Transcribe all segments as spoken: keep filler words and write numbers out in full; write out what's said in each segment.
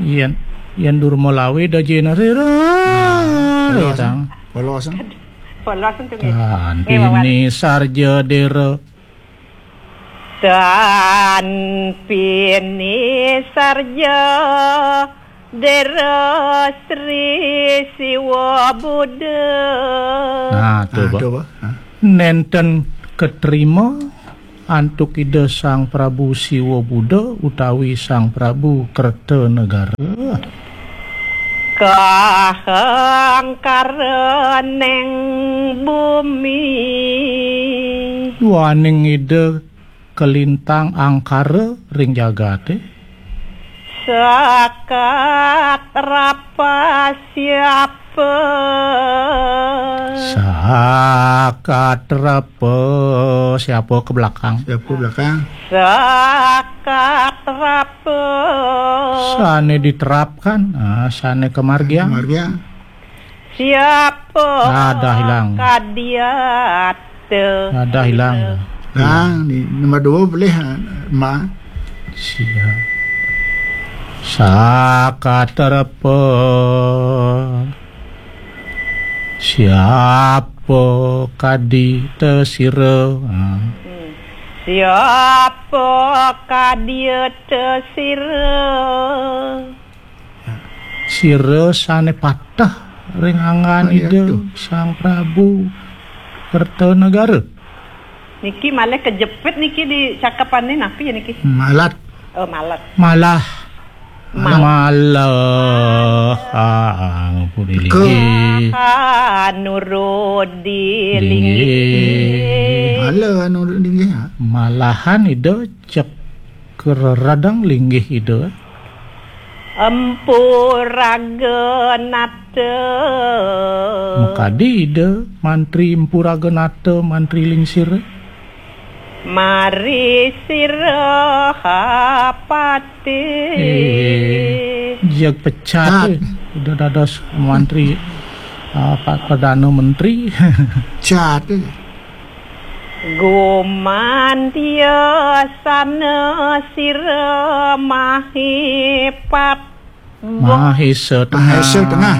Yen, yen durma lawe da jena sira. Nah, polos. Tang. Polos. Polos untuk nggih. Nggih, Wawan. Tantini sarja dera. Tantini sarja dera Sri Siwa Buddha. Nah, to, Ah, Pak. To, Pak. Ah. Nenten ketrima antuk Ida Sang Prabu Siwa Buddha utawi Sang Prabu Kertanegara. Kahangkara ning bumi. Duaning Ida kalintang angkara ring jagate. Sakat rapa siapa? Sakat rapa? Siapa ke belakang? Siapa belakang? Sakat rapa? Sane diterapkan, ah, sane kemargiang. Kemargiang. Siapa? Ada hilang. Kadiat. Ada hilang. Hilang, di nomor dua boleh, ah, Ma. Siap. Sakatarpa. Siapa kadi tesira? Ha. Hmm. Siapa kadi tesira? Sira sane patah ring anggan Ida Sang Prabu Kertanegara. Niki malih kejepit niki di cakepane napi ya niki? Malat. Oh, malat. Malah. Mal- Malah. Ah, ampun, Ke- linggih. Nurudi linggih. Linggih. Malah nurudi linggih, ha? Malahan Ida cek kereradang linggih Ida. Empu Raga Nata. Makadi Ida, Mantri Empu Raga Nata, Mantri Lingsir. Mari sira hapati. Eh, jeg pecat, eh. Udah dados mantri, ah, Pak Perdana Menteri. Cat, eh. Gumantia sana sira mahipat. Mahisa Tengah. Mahisa Tengah.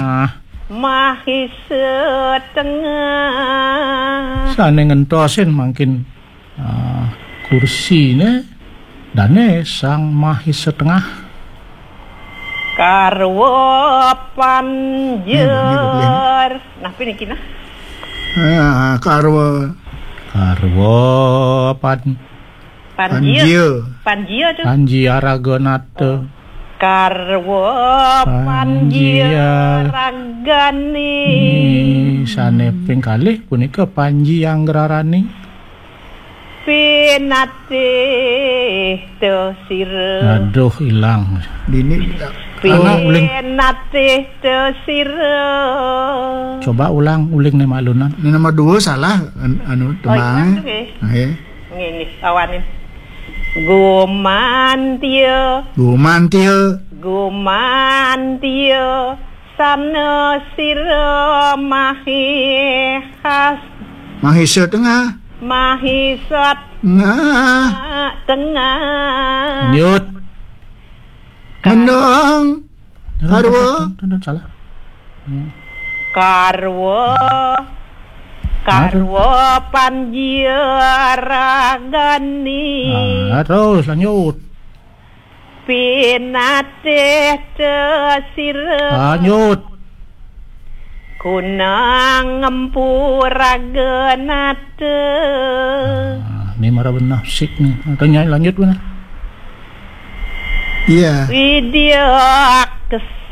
Mahisa Tengah. Sane ngentosin mangkin, ah, kursine dane Sang Mahisa Tengah. Karwa Panjer. Ini, ini boleh, ini. Napi niki nah? Ah, karwa. Karwa Pan- Panjia. Panjia. Panjia tu. Panjia Raganata. Karwa Panjia. Panjia Ragane. Ni sane ping kalih punika Panji Anggrarani. Pinatih to sira. Aduh, ilang. Dini, Pinatih to sira. Coba ulang, uling ne malunan. Ini nomor dua salah, an-, anu, Oh, tembang. Ilang tu, nggih. Nggih. Ngene, awanin. Gumantia. Gumantia. Gumantia. Sana sira mahihas. Mahisa Tengah. Mahisat. Tengah. Tengah. Lanjut. Mendong. Karwa. Tun, tun, tun, salah. Hmm. Karwa. Karwa Panjia Ragani. Ah, terus lanjut. Pinatih te sira. Lanjut. Kunang Empu Raganata. Ah, ni mara benah sik ni. Tanya lanjut benah. Iya. Widyak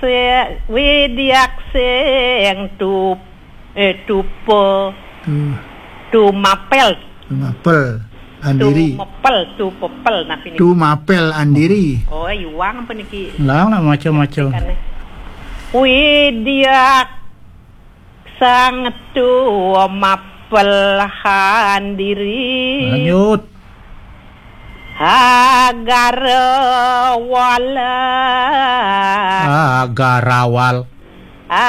se-, widyak sing tu, eh, tupa. Tu. Tumapel. Tumapel. Andiri. Tumepel, tupepel, napi niki? Tumapel andiri. Oh, iwang apa niki? Lang nak maca-maca. Widyak sang tumapel andiri. Lanjut. Agarawala. Agarawal.